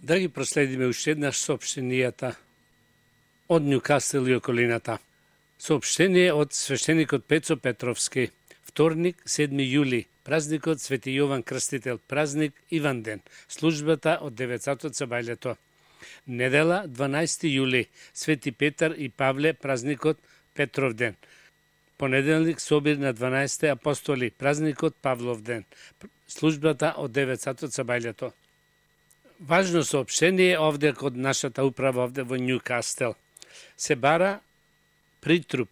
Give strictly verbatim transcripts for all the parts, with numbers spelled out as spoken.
Да ги проследиме уште еднаш соопштенијата од Њукасел и околината. Соопштение од свештеникот Пецо Петровски. Вторник, седми јули, празникот Свети Јован Крстител, празник Иванден, службата од девет сати со бајлето. Недела, дванаести јули, Свети Петар и Павле, празникот Петровден. Понеделник, собир на дванаесетте апостоли, празникот Павловден, службата од девет сати со бајлето. Важно соопштение овде код нашата управа овде во Њукастел. Се бара притруп,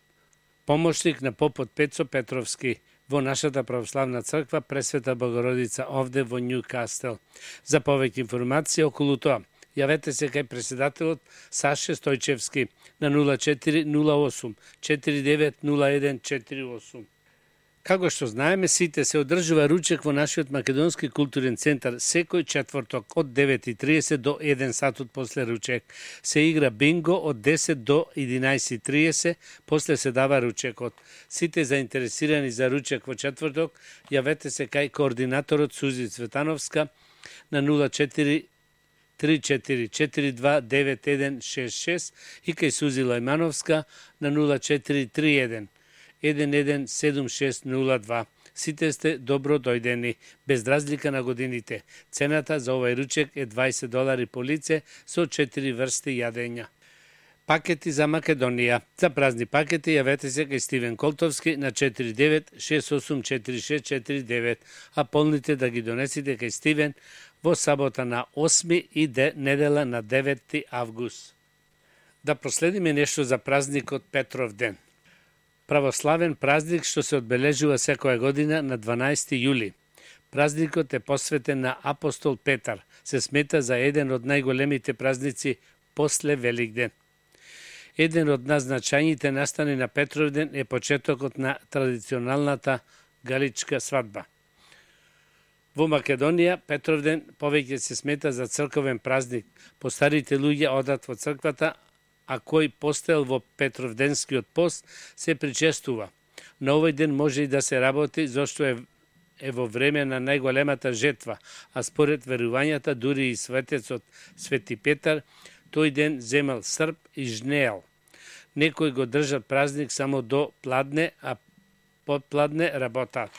помошник на попот Пецо Петровски во нашата православна црква Пресвета Богородица овде во Њукастел. За повеќе информации околу тоа, јавете се кај председателот Саше Стојчевски на нула четири нула осум четири девет нула еден четири осум. Како што знаеме, сите се одржува ручек во нашиот Македонски културен центар секој четврток од девет и триесет до еден сатот после ручек. Се игра бинго од десет до единаесет и триесет, после се дава ручекот. Сите заинтересирани за ручек во четврток, јавете се кај координаторот Сузи Цветановска на нула четири три четири четири два девет еден шест шест и кај Сузи Лајмановска на нула четири три еден еден еден седум шест нула два. Сите сте добро дојдени, без разлика на годините. Цената за овај ручек е дваесет долари по лице со четири врсти јадења. Пакети за Македонија. За празни пакети јавете се кај Стивен Колтовски на четири девет шест осум четири шест четири девет, а полните да ги донесите кај Стивен во сабота на осми и де, недела на деветти август. Да проследиме нешто за празникот Петровден. Православен празник што се одбележува секоја година на дванаести јули. Празникот е посветен на апостол Петар. Се смета за еден од најголемите празници после Великден. Еден од назначањите настани на Петровден е почетокот на традиционалната галичка свадба. Во Македонија, Петровден повеќе се смета за црковен празник. Постарите луѓе одат во црквата, а кој постел во Петровденскиот пост се причестува. На овој ден може и да се работи, зашто е, е во време на најголемата жетва, а според верувањата дури и светецот Свети Петар тој ден земал срп и жнеел. Некои го држат празник само до пладне, а под пладне работат.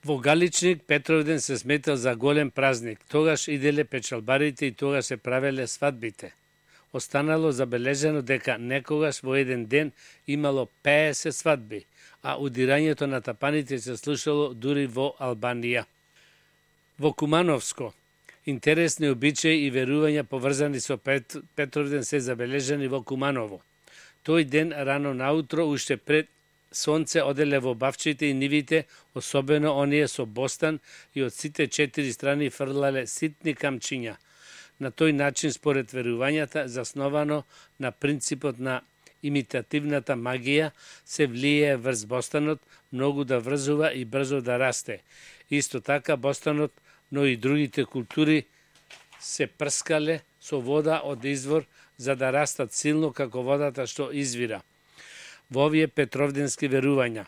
Во Галичник Петровден се сметал за голем празник. Тогаш иделе печалбарите и тогаш се правеле свадбите. Останало забележено дека некогаш во еден ден имало пеесет свадби, а удирањето на тапаните се слушало дури во Албанија. Во Кумановско, интересни обичаи и верувања поврзани со Пет, Петровден се забележани во Куманово. Тој ден рано наутро, уште пред сонце, оделе во бавчите и нивите, особено оние со бостан, и од сите четири страни фрлале ситни камчиња. На тој начин, според верувањата, засновано на принципот на имитативната магија, се влијае врз бостанот многу да врзува и брзо да расте. Исто така, бостанот, но и другите култури се прскале со вода од извор за да растат силно како водата што извира. Во овие петровденски верувања.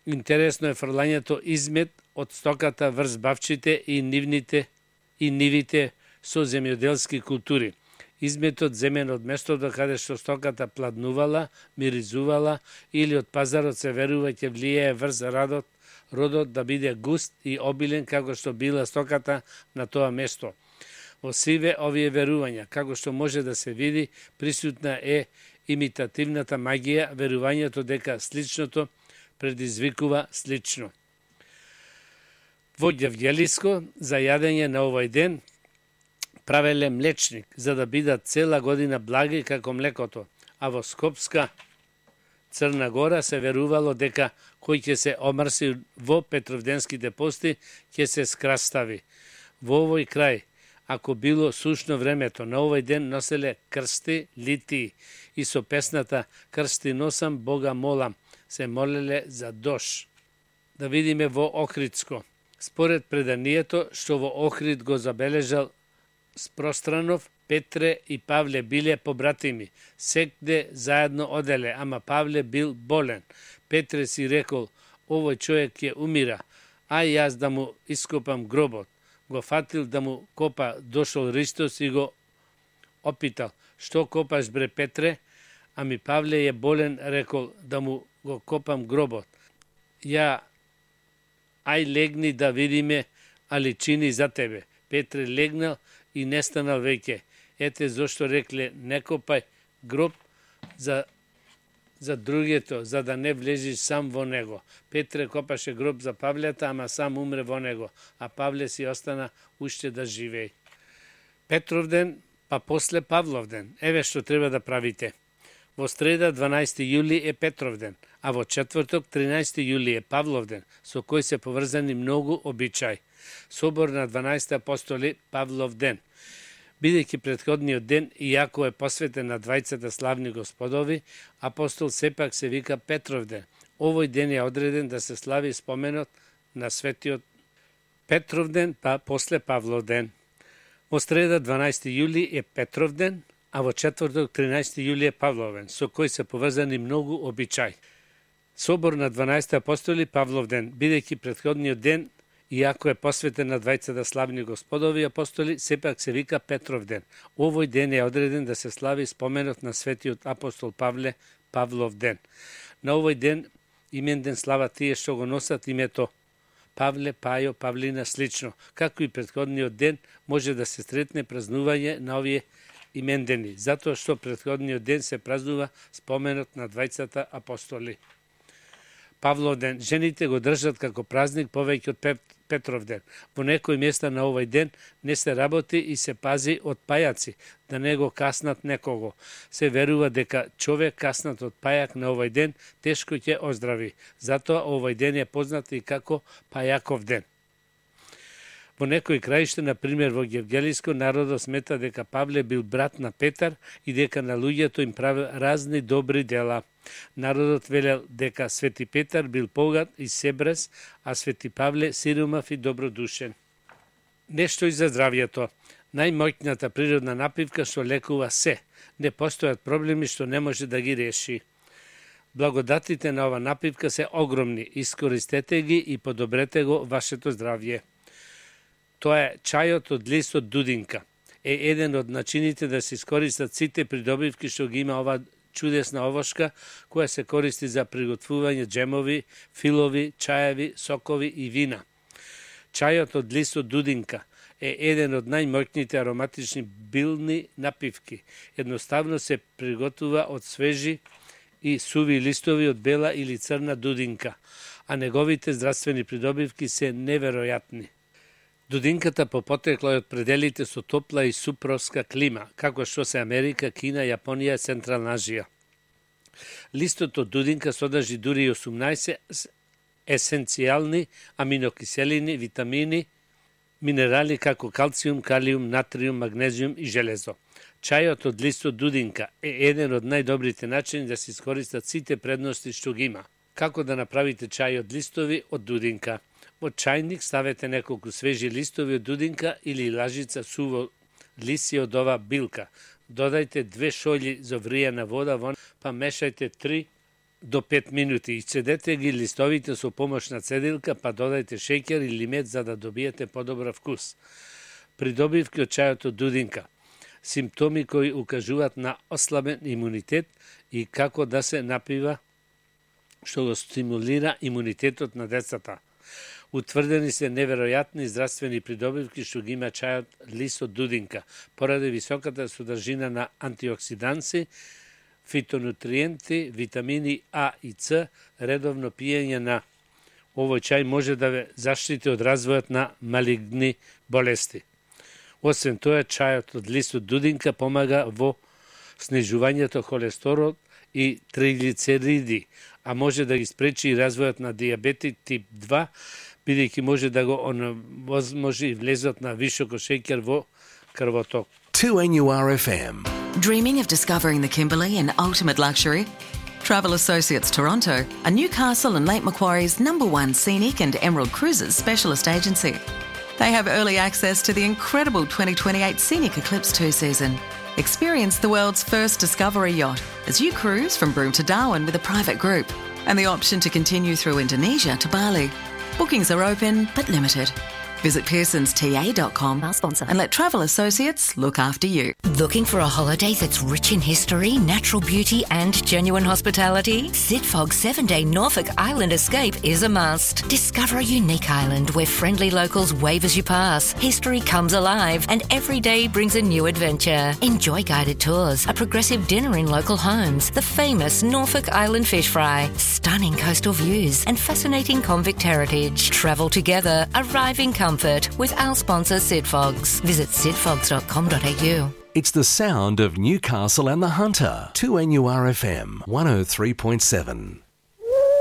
Интересно е фрлањето измет од стоката врз бавчите и нивните и нивите со земјоделски култури. Изметот земен од местото каде што стоката пладнувала, миризувала или од пазарот се верува ќе влијае врз родот, родот да биде густ и обилен како што била стоката на тоа место. Во сиве овие верувања, како што може да се види, присутна е имитативната магија, верувањето дека сличното предизвикува слично. Во Ѓевѓелиско, за јадење на овој ден, правеле млечник, за да бидат цела година благи како млекото, а во Скопска, Црна Гора, се верувало дека кој ќе се омрси во петровденските пости, ќе се скрастави. Во овој крај, ако било сушно времето, на овој ден носеле крсти, литии и со песната "Крсти носам, Бога молам", се молеле за дош. Да видиме во Охридско. Според преданието што во Охрид го забележал Спространов, Петре и Павле биле побратими. Секде заедно оделе, ама Павле бил болен. Петре си рекол, овој човек ќе умира, а јас да му ископам гробот. го фатил да му копа, дошол Ристос и го опитал: "Што копаш, бре Петре?" Ами Павле е болен, рекол: "Да му го копам гробот." "Ја, ај легни да видиме, али чини за тебе." Петре легнал и не станал веќе. Ете зошто рекле: "Не копај гроб за за другето, за да не влезиш сам во него." Петре копаше гроб за Павлета, ама сам умре во него, а Павле си остана уште да живее. Петровден, па после Павловден. Еве што треба да правите. Во среда дванаесети јули е Петровден, а во четврток тринаесети јули е Павловден, со кој се поврзани многу обичаи. Собор на дванаесетте апостоли, Павловден. Бидејќи претходниот ден, иако е посветен на двајцата славни господови, апостол сепак се вика Петровден. Овој ден е одреден да се слави споменот на светиот Петровден, па после Павловден. Во среда дванаесети јули е Петровден, а во четврток тринаесети јули е Павловден, со кој се поврзани многу обичаи. Собор на дванаесетте апостоли, Павловден, бидејќи претходниот ден, иако е посветен на двајцата славни господови апостоли, сепак се вика Петровден. Овој ден е одреден да се слави споменот на светиот апостол Павле, Павловден. На овој ден именден слава тие што го носат името Павле, Пајо, Павлина слично. Како и претходниот ден може да се сретне празнување на овие имендени, затоа што претходниот ден се празнува споменот на двајцата апостоли. Павловден, жените го држат како празник повеќе од Петровден. Во некои места на овој ден не се работи и се пази од пајаци, да не го каснат некого. Се верува дека човек каснат од пајак на овој ден тешко ќе оздрави. Затоа овој ден е познат и како Пајаков ден. Во некои краишта, на пример во Гевгелиско, народот смета дека Павле бил брат на Петар и дека на луѓето им правил разни добри дела. Народот велел дека Свети Петар бил богат и себрес, а Свети Павле сиромав и добродушен. Нешто и за здравјето. Најмоќната природна напивка што лекува се. Не постојат проблеми што не може да ги реши. Благодатите на ова напивка се огромни. Искористете ги и подобрете го вашето здравје. Тоа е чајот од листот дудинка. Е еден од начините да се искористат сите придобивки што ги има ова чудесна овошка, која се користи за приготвување джемови, филови, чаеви, сокови и вина. Чајот од листот дудинка е еден од најмоќните ароматични билни напивки. Едноставно се приготвува од свежи и суви листови од бела или црна дудинка, а неговите здравствени придобивки се неверојатни. Дудинката по потекло е од пределите со топла и супровска клима, како што се Америка, Кина, Јапонија и Централна Азија. Листот од дудинка содржи дури осумнаесет есенцијални аминокиселини, витамини, минерали како калциум, калиум, натриум, магнезиум и железо. Чајот од листот дудинка е еден од најдобрите начини да се искористат сите предности што ги има. Како да направите чај од листови од дудинка? Во чајник ставете неколку свежи листови од дудинка или лажица суво лиси од ова билка. Додајте две шолји зовријана вода во, па мешајте три до пет минути и цедете ги листовите со помош на цедилка, па додајте шеќер или мед за да добиете подобар вкус. Придобивки од чајот од дудинка. Симптоми кои укажуваат на ослабен имунитет и како да се напива што го стимулира имунитетот на децата. Утврдени се неверојатни здравствени придобивки што ги има чајот лист од дудинка, поради високата содржина на антиоксиданси, фитонутриенти, витамини А и С. Редовно пиење на овој чај може да ве заштити од развојот на малигни болести. Освен тоа, чајот од лист од дудинка помага во снижувањето холестерол и триглицериди, а може да ги спречи и развојот на дијабетит тип два, бидејќи може да го онемоможи и влезот на високо шеќер во крвоток. two N U R F M. Dreaming of discovering the Kimberley in ultimate luxury? Travel Associates Toronto are Newcastle and Lake Macquarie's number one scenic and Emerald Cruises specialist agency. They have early access to the incredible twenty twenty-eight Scenic Eclipse two season. Experience the world's first discovery yacht as you cruise from Broome to Darwin with a private group, and the option to continue through Indonesia to Bali. Bookings are open but limited. Visit pearsons t a dot com Our sponsor. and let Travel Associates look after you. Looking for a holiday that's rich in history, natural beauty and genuine hospitality? Sidfog's seven-day Norfolk Island escape is a must. Discover a unique island where friendly locals wave as you pass. History comes alive and every day brings a new adventure. Enjoy guided tours, a progressive dinner in local homes, the famous Norfolk Island fish fry, stunning coastal views and fascinating convict heritage. Travel together, arrive in comfort with our sponsor Sidfogs. Visit sidfogs dot com dot a u. It's the sound of Newcastle and the Hunter. two N U R F M one oh three point seven.